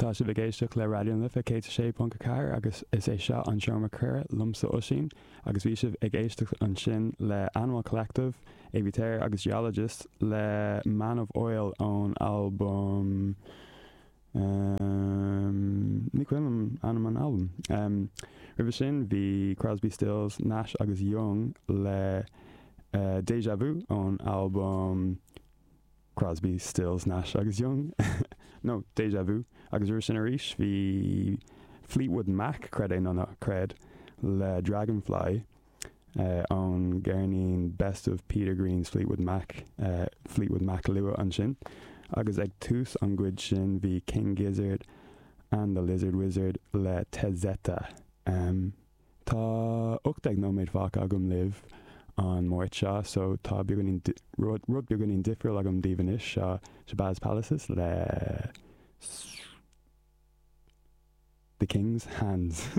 Tá sibh ag éisteacht le Raidió na Life 106.4 agus is é seo an Seomra Comhrá liomsa Oisín agus bhí sibh ag éisteacht ansin le Animal Collective, Avey Tare agus Geologist le Man of Oil ón albam ehm ní cuimhin liom ainm an albaim. Ehm roimhe sin bhí Crosby, Stills, Nash agus Young le Deja Vu ón albam Crosby, Stills, Nash agus Young, nó Deja Vu, agus roimhe sin arís bhí Fleetwood Mac, creid é nó ná creid, le Dragonfly ón gceirnín Best of Peter Green's Fleetwood Mac, Fleetwood Mac luath ansin, agus ag tús an gcuid sin bhí King Gizzard and the Lizard Wizard le Tezeta. Tá 18 nóiméad fágtha agam libh an Máirt seo so tá beagáinín, rud beagáinín difriúil agam daoibh anois, seo Shabazz Palaces le The King's Hands.